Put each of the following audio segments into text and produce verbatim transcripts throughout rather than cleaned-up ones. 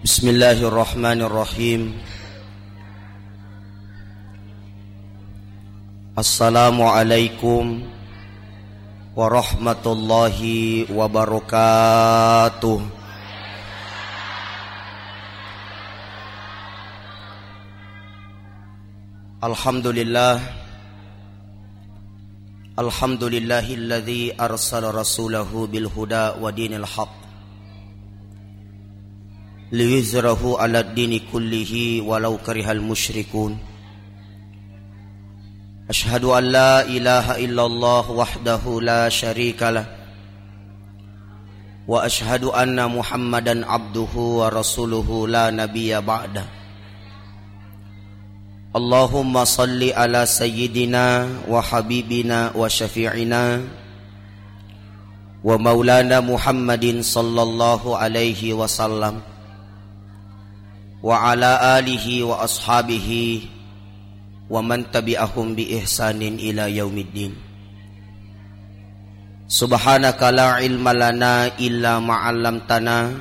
Bismillahirrahmanirrahim. Assalamualaikum warahmatullahi wabarakatuh. Alhamdulillah. Alhamdulillahilladzi arsala rasulahu bil huda wa dinil haq liyuzhirahu ala dini kullihi walau karihal musyrikun. Asyhadu an la ilaha illallah wahdahu la syarikalah, wa asyhadu anna Muhammadan abduhu wa rasuluhu la nabiyya ba'da. Allahumma salli ala sayyidina wa habibina wa syafi'ina wa maulana Muhammadin sallallahu alaihi wasallam wa ala alihi wa ashabihi wa man tabi'ahum bi ihsanin ila yaumiddin. Subhanaka la ilma lana illa ma 'allamtana,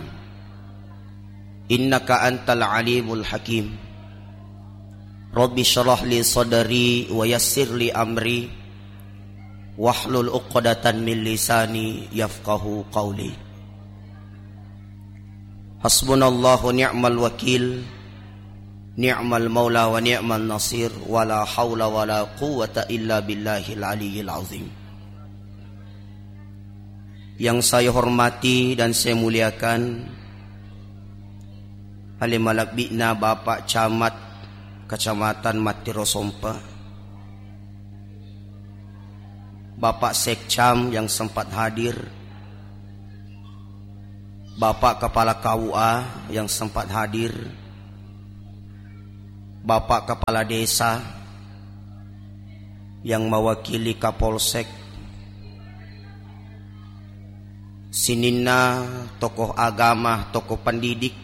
innaka antal alimul hakim. Rabbi syrah li sadri wa yassir li amri, wahlul uqdatan min lisani yafqahu qawli. Hasbunallahu ni'mal wakil, ni'mal maula wa ni'mal nasir, wa la haula wa la quwwata illa billahil aliyyil azim. Yang saya hormati dan saya muliakan, ale malebbi'na Bapak Camat Kecamatan Mattiro Sompa, Bapak Sekcam yang sempat hadir, Bapak Kepala K U A yang sempat hadir, Bapak Kepala Desa yang mewakili Kapolsek, sininna tokoh agama, tokoh pendidik,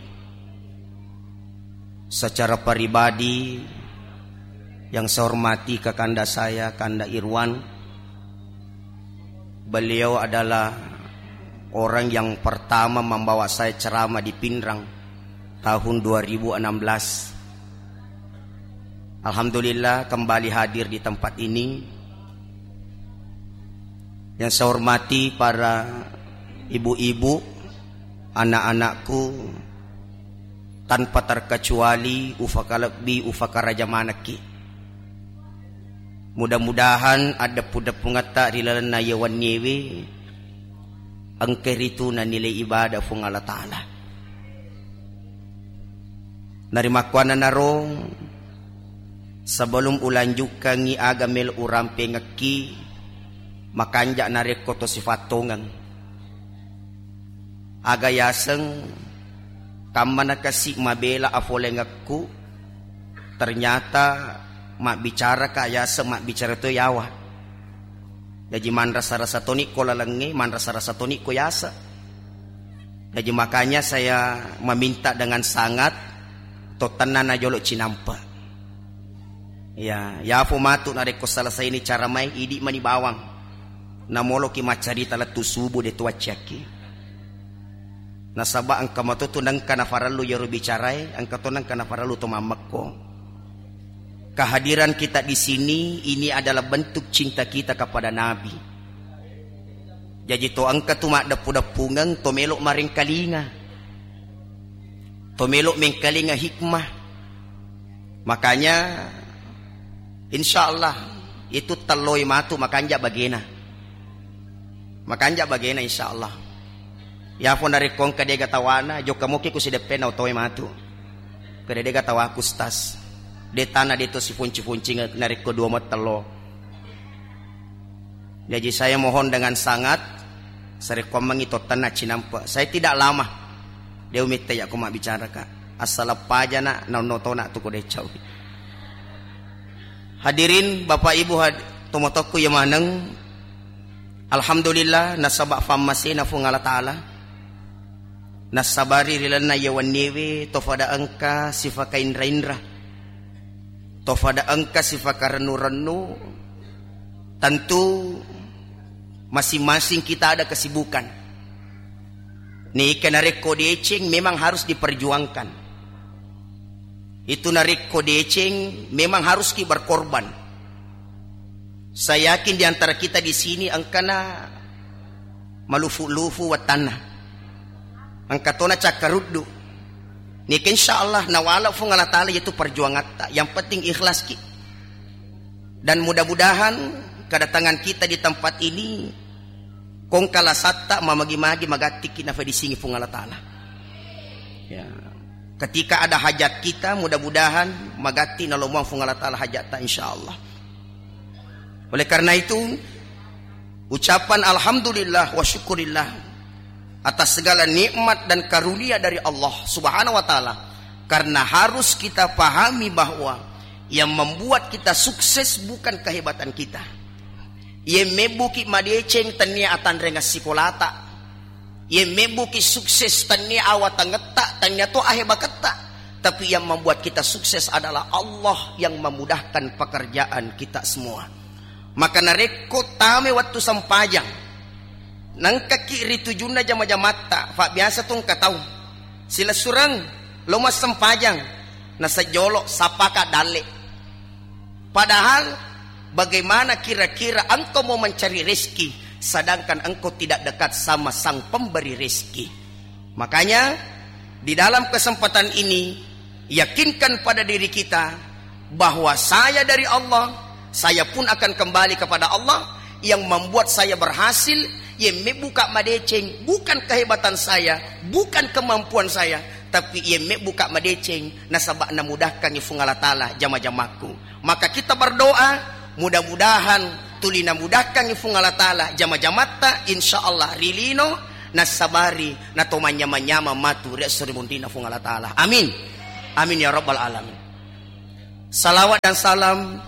secara pribadi yang saya hormati Kakanda saya, Kanda Irwan. Beliau adalah orang yang pertama membawa saya ceramah di Pinrang tahun dua ribu enam belas. Alhamdulillah, kembali hadir di tempat ini. Yang saya hormati para ibu-ibu, anak-anakku, tanpa terkecuali ufakalebbi, ufakaraja manekki. Mudah-mudahan addeppu-deppungetta ri lalenna iye wenniewe engka ritu nanilai ibadah Fuang Allah Ta'ala. Narimakkuannanaro, sebelum ulanjukkangngi aga melo urampengekki, makanja narekko to sifattongeng. Aga yaseng kammanakasi mabela afolengekku, ternyata mabbicaraka yaseng mabbicara to yawa. Jaji manrasa-rasa toni ko lalengnge, manrasa-rasa toni ko yaseng. Jaji makanya saya meminta dengan sangat, to tenna najolo cinampe. Ya, yafo matu narekko selesaini cara mai, idi mani bawang. Namoloki maccarita lettu subuh de tuacciakki. Nasaba engka matotu nengka nafarellu yero bicarae, engka to nengka nafarellu to mammekko. Kehadiran kita di sini ini adalah bentuk cinta kita kepada Nabi. Jaji to engka tu maddeppu-deppungeng, to melo marengkalinga, to melo mengkalinga hikmah. Makanya, insya Allah, itu telloi matu makanja bagena. Makanja bagena, insya Allah. Yafo narekko engka dega tawana, jokka moki ku sideppena otoe matu. Kede dega tawaku stas. De tana de to sifonci-foncing narekko dua mattello. Jaji saya mohon dengan sangat, sarekkoammengngi tottenna cinampe. Saya tidak lama. De umitte yakko mabbicara, Kak. Assaleng pajana naonno tona tu ko decau. Hadirin, Bapak Ibu had-, tomotokku ya maneng. Alhamdulillah, nasaba fammasena Fuang Allah Ta'ala. Nassabari ri lalenna iye wenniewe to fada engka sifakainra-inra, to fada engka sifakarennu-rennu. Tentu masing-masing kita ada kesibukan. Neka narekko deceng memang harus diperjuangkan. Itu narekko deceng memang harus ki berkorban. Saya yakin di antara kita di sini engkana malufu-lufu wattanna. Engka tona cakkaruddu. Neka insya Allah nawala Fuang Allah Ta'ala itu perjuangatta. Yang penting ikhlas ki. Dan mudah-mudahan kedatangan kita di tempat ini kongkalasatta mamagi-magi magattiki nafadisingi Fuang Allah Ta'ala. Ya. Ketika ada hajat kita, mudah-mudahan magatti nalomoang Fuang Allah Ta'ala hajatta, insya Allah. Oleh karena itu, ucapan alhamdulillah wa syukurillah atas segala nikmat dan karunia dari Allah Subhanahu wa Ta'ala. Karena harus kita pahami bahwa yang membuat kita sukses bukan kehebatan kita. Yang mebbuki madeceng tennia atanreng sikolata. Iye mebbuki sukses tennia awatangetta, tennia to ahebaketta. Tapi yang membuat kita sukses adalah Allah yang memudahkan pekerjaan kita semua. Maka narekko tame wettu sempajang, nengkaki ri tujunna jama-jamatta, fa biasa tu engka tau silessureng lo massempajang, nasejolo sapaka dalle. Padahal, bagaimana kira-kira engkau mau mencari rezeki, sedangkan engkau tidak dekat sama Sang Pemberi rezeki? Makanya, di dalam kesempatan ini, yakinkan pada diri kita bahwa saya dari Allah, saya pun akan kembali kepada Allah. Yang membuat saya berhasil, yang membuka madeceng, bukan kehebatan saya, bukan kemampuan saya, tapi yang membuka madeceng, nasaba namudahkangi Fuang Allah Ta'ala jama-jamakku. Maka kita berdoa, mudah-mudahan tuli namudahkangi Fuang Allah Ta'ala jama-jamatta, insya Allah ri lino nassabari nato manyama-nyama matu ri esso ri munrinna Fuang Allah Ta'ala. Amin. Amin ya rabbal alamin. Salawat dan salam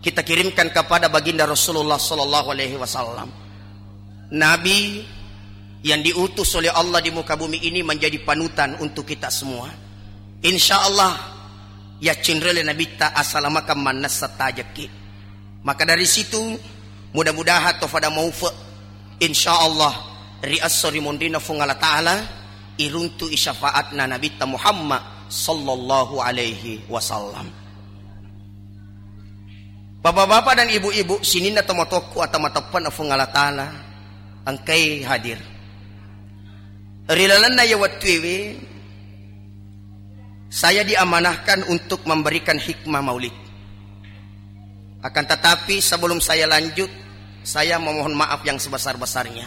kita kirimkan kepada baginda Rasulullah sallallahu alaihi wasallam. Nabi yang diutus oleh Allah di muka bumi ini menjadi panutan untuk kita semua. Insya Allah, ya cinrele Nabitta asalamakan mannessa tajekki. Maka dari situ, mudah-mudahan to fada maufe, insya Allah, ri esso ri monrina Fuang Allah Ta'ala, iruntu'i syafaatna Nabitta Muhammad sallallahu alaihi wasallam. Bapak-bapak dan ibu-ibu, sininna tomatoakku atau mateppe'na Fuang Allah Ta'ala, engkai hadir. Ri lalenna iya wettuewe, saya diamanahkan untuk memberikan hikmah maulid. Akan tetapi, sebelum saya lanjut, saya memohon maaf yang sebesar-besarnya.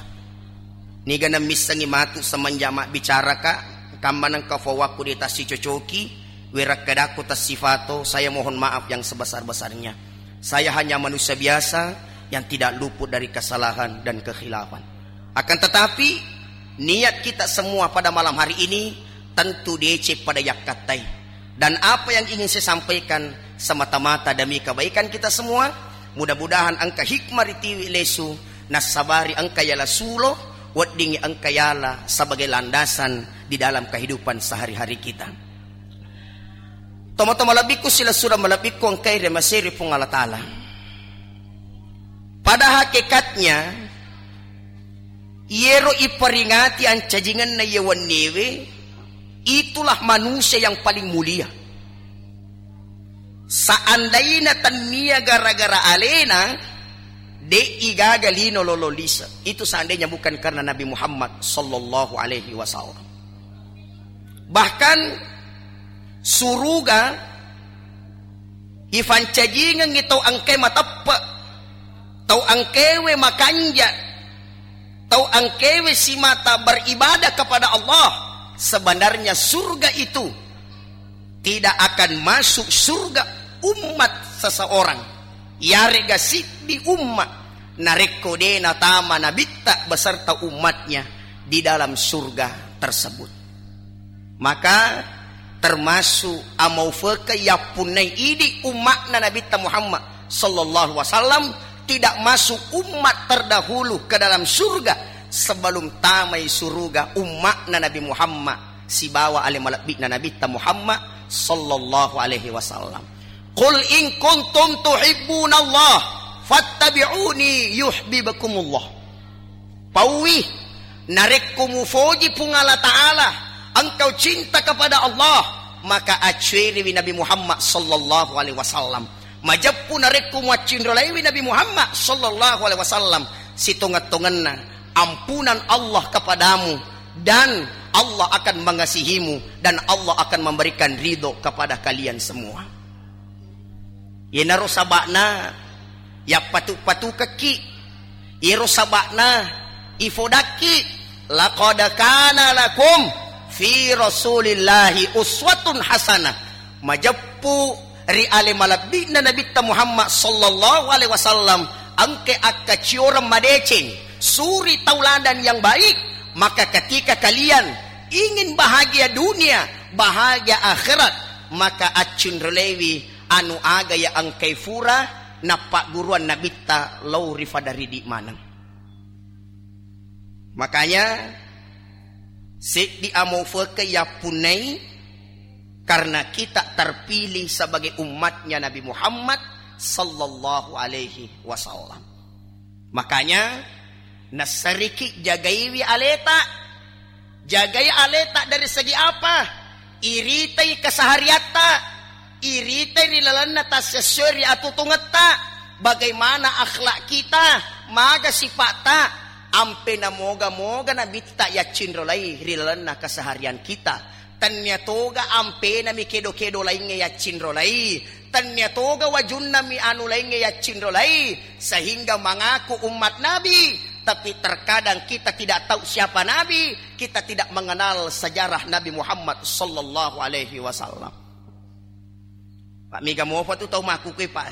Niga nammissengi matu semenjak mabbicaraka, kamma nengka fowakku de tassicocoki, werakkedakku tessifato, saya mohon maaf yang sebesar-besarnya. Saya hanya manusia biasa yang tidak luput dari kesalahan dan kekhilafan. Akan tetapi, niat kita semua pada malam hari ini tentu deceng pada yakkattai. Dan apa yang ingin saya sampaikan semata-mata demi kebaikan kita semua. Mudah-mudahan engka hikmah ritiwi lesu, nassabari engka yala sulo, weddingngi engka yala sebagai landasan di dalam kehidupan sehari-hari kita. Tomatoa malebbikku, silessureng malebbikku engkai riamasei ri Puang Allah Ta'ala. Pada hakikatnya, iyero iperingati ancajingenna iye wenniewe, itulah manusia yang paling mulia. Seandaina tennia gara-gara alena, de'i gaga lino lolo lise. Itu seandainya bukan karena Nabi Muhammad sallallahu alaihi wasallam. Bahkan suruga ifancajingengngi tau engkae mateppe, tau engkaewe makanja, tau engkaewe simata beribadah kepada Allah. Sebenarnya surga itu tidak akan masuk surga umat seseorang, yarega siddi umma, narekko de natama nabitta beserta umatnya di dalam surga tersebut. Maka termasuk amaufeke yappunnai idi umma'na Nabitta Muhammad sallallahu alaihi wasallam tidak masuk umat terdahulu ke dalam surga sebelum tamai suruga umma'na Nabi Muhammad sibawa ale malebbi'na Nabitta Muhammad sallallahu alaihi wasallam. Qul in kuntum tuhibbunallah fattabi'uni yuhibbukumullah. Pauwi, Narekko mufoji Puang Allah Ta'ala, engkau cinta kepada Allah, maka accueriwi Nabi Muhammad sallallahu alaihi wasallam. Majeppu narekko muaccinrolaiwi Nabi Muhammad sallallahu alaihi wasallam, sitongeng-tongenna ampunan Allah kepadamu, dan Allah akan mengasihimu, dan Allah akan memberikan ridho kepada kalian semua. Iyanaro saba'na yappatu-patukekki, iyaro saba'na ifodakki, "Laqad kana lakum fi Rasulillahi uswatun hasanah." Majeppu ri ale malebbi'na Nabitta Muhammad sallallahu alaihi wasallam engka akkacioreng madeceng, suri tauladan yang baik, maka ketika kalian ingin bahagia dunia, bahagia akhirat, maka accinrolaiwi anu aga iya engkai fura nappagguruang Nabitta lao ri fada ridi maneng. Makanya, seddi amo feke yappunnai karena kita terpilih sebagai umatnya Nabi Muhammad sallallahu alaihi wasallam. Makanya, nassariki jagaiwi aleta. Jagai aleta dari segi apa? Iritai kesehariatta, iritai ri lalenna tassessoi ri atutungetta, bagaimana akhlak kita, maga sipatta, ampe namoga-moga Nabitta yaccinrolai ri lalenna keseharian kita. Tennia toga ampenami kedo-kedo laingnge yaccinrolai, tennia toga wajunnami anu laingnge yaccinrolai, sehingga mengaku umat Nabi, tapi terkadang kita tidak tahu siapa Nabi, kita tidak mengenal sejarah Nabi Muhammad sallallahu alaihi wasallam. Pak, mega mopa tu tau makkukue, Pak.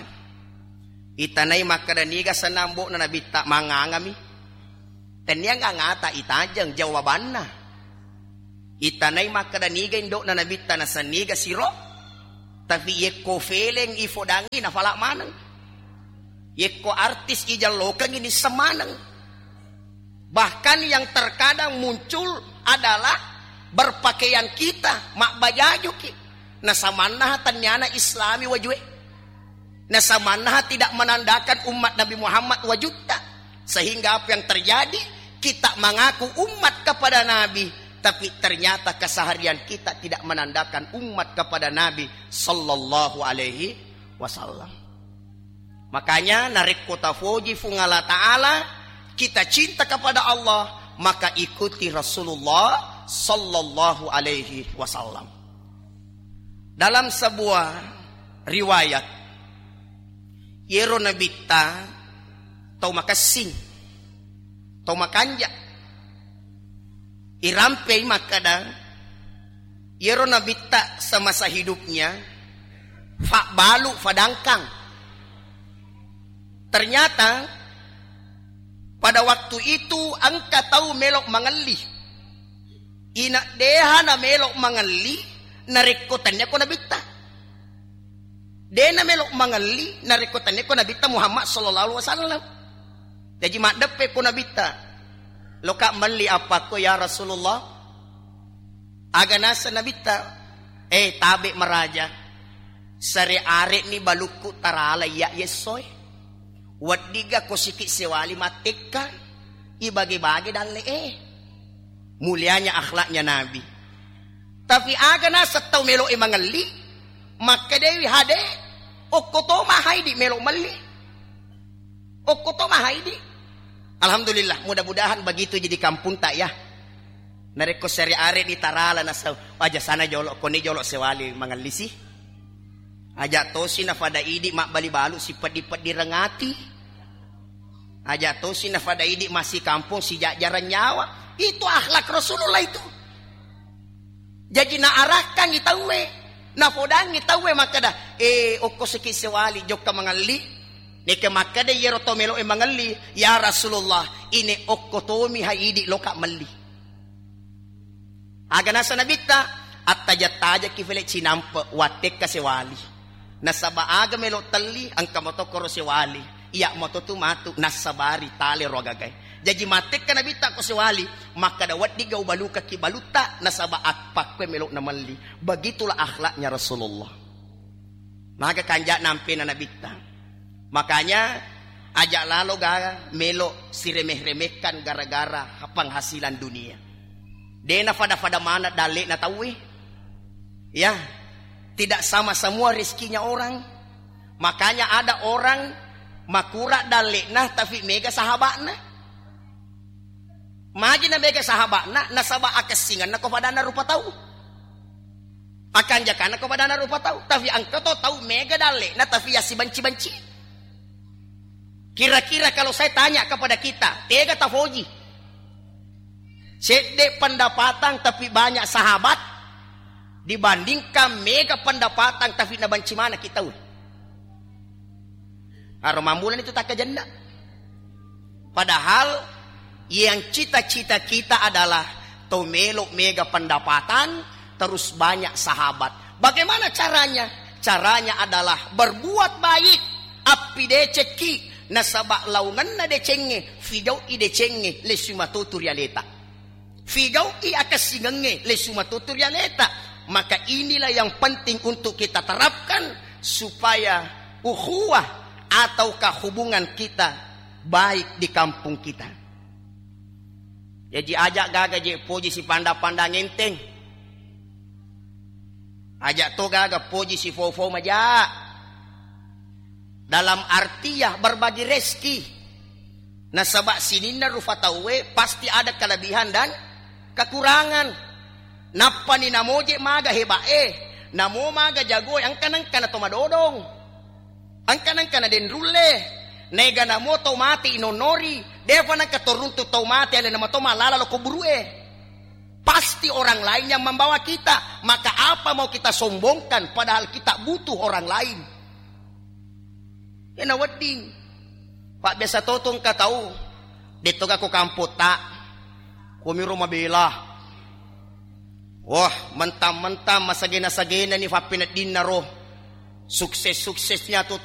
Itanai makkeda niga senna ambo'na Nabitta, mangangami. Tennia ngangata itajeng jawabanna. Itanai makkeda niga indo'na Nabitta, nasenniga siro. Tapi yekko feleng ifodangi nafala maneng. Yekko artis ijallokengi nisseng maneng. Bahkan yang terkadang muncul adalah berpakaian kita, mabbajajuki. Nasamannaha tenniana Islami wajue. Nasamannaha tidak menandakan umat Nabi Muhammad wajutta. Sehingga apa yang terjadi? Kita mengaku umat kepada Nabi, tapi ternyata keseharian kita tidak menandakan umat kepada Nabi sallallahu alaihi wasallam. Makanya, narekko tafoji Fuang Allah Ta'ala, kita cinta kepada Allah, maka ikuti Rasulullah sallallahu alaihi wasallam. Dalam sebuah riwayat, yero Nabitta tau makessing, tau makanja. Irampei makkeda, yero Nabitta semasa hidupnya, fabbalu fadangkang. Ternyata pada waktu itu engka tau melo mangelli. Ina deha na melo mangelli narekko tennia ko Nabitta. De na melo mangelli narekko tennia ko Nabitta Muhammad sallallahu alaihi wasallam. Jaji maddeppe ko Nabitta. Loka melli appakko ya Rasulullah. Aga naseng Nabitta, "Eh, tabe maraja. Sare are'ni balukku tarala iya yessoe. Weddiga ko siki sewali mattekka, ibage-bage dalle e." Mulianya akhlaknya Nabi. Tapi aga naseng tau melo e mangelli, makkedewi hade, okko to mahaidi melo melli. Okko to mahaidi. Alhamdulillah, mudah-mudahan begitu jadi kampung tak ya. Narekko sari are di tarala nasau, aja sana jolo, koni jolo sewali mangellisi. Aja tosi nafada idi mabbali balu sipeddi-peddi rengati. Aja tosi nafada idi masih kampung si jajaran nyawa. Itu akhlak Rasulullah itu. Jaji naarakkang i tauwe, napodangngi tauwe makkeda, "Eh, okko siki sewali jokka mangelli." Neke makkeda iyaro to melo e mangelli, "Ya Rasulullah, ine okko tomi ha idi loka melli." Aga nasa Nabitta, "Attaja-tajaki fele cinampe wattekka sewali. Nasaba aga melo telli, engka matokkoro sewali. Iya matotu matu, nassabari tale ro agagae." Jaji mattekka Nabitta ko sewali, makkeda, "Weddiga ubalukaki balutta, nasaba appakkue melo namelli." Begitulah akhlaknya Rasulullah. Maga kanja nampena Nabitta. Makanya, Aja lalo ga melo siremeh-remehkan gara-gara penghasilan dunia. Dena fada-fada mana dalle'na tauwe. Ya, tidak sama semua rezekinya orang. Makanya ada orang makura dalle'na tapi mega sahabatna. Magi na mega sahabatna, nasaba akessingenna ko fadana rupa tau. Akanjakana ko fadana rupa tau. Tapi engka to tau mega dalle'na tapi ya sibanci-banci. Kira-kira kalau saya tanya kepada kita, tega tafoji? Sedde pendapatan tapi banyak sahabat dibandingkan mega pendapatan tapi nabanci mana kita. Aro mambulan itu tak kejendak. Padahal yang cita-cita kita adalah to melo mega pendapatan, terus banyak sahabat. Bagaimana caranya? Caranya adalah berbuat baik. Appi decekki, nasaba laungenna decengnge, figau'i decengnge, lesu matotu ri aleta. Figau'i akessingengnge, lesu matotu ri aleta. Maka inilah yang penting untuk kita terapkan supaya ukhuwah ataukah hubungan kita baik di kampung kita. Jaji aja gaga je poji sipanda-panda ngenteng. Aja to gaga poji sifofo maja. Dalam artiah berbagi rezeki. Nasaba sininna rufa tauwe pasti ada kelebihan dan kekurangan. Nappani namoje maga heba'e, namo maga jagoe, engka nengka na to madodong. Engka nengka na denrulle. Nega namo tau mate inonnori, defa nengka to runtu tau mate alena mato malala lo kuburue. Pasti orang lain yang membawa kita. Maka apa mau kita sombongkan padahal kita butuh orang lain? Ena wedding. Pak biasa totong ka tau. Detto ga ko kampotta. Komiro mabela. Wah, mentang-mentang masagena-sagena ni fappeneddinna ro. Sukses-suksesnya tu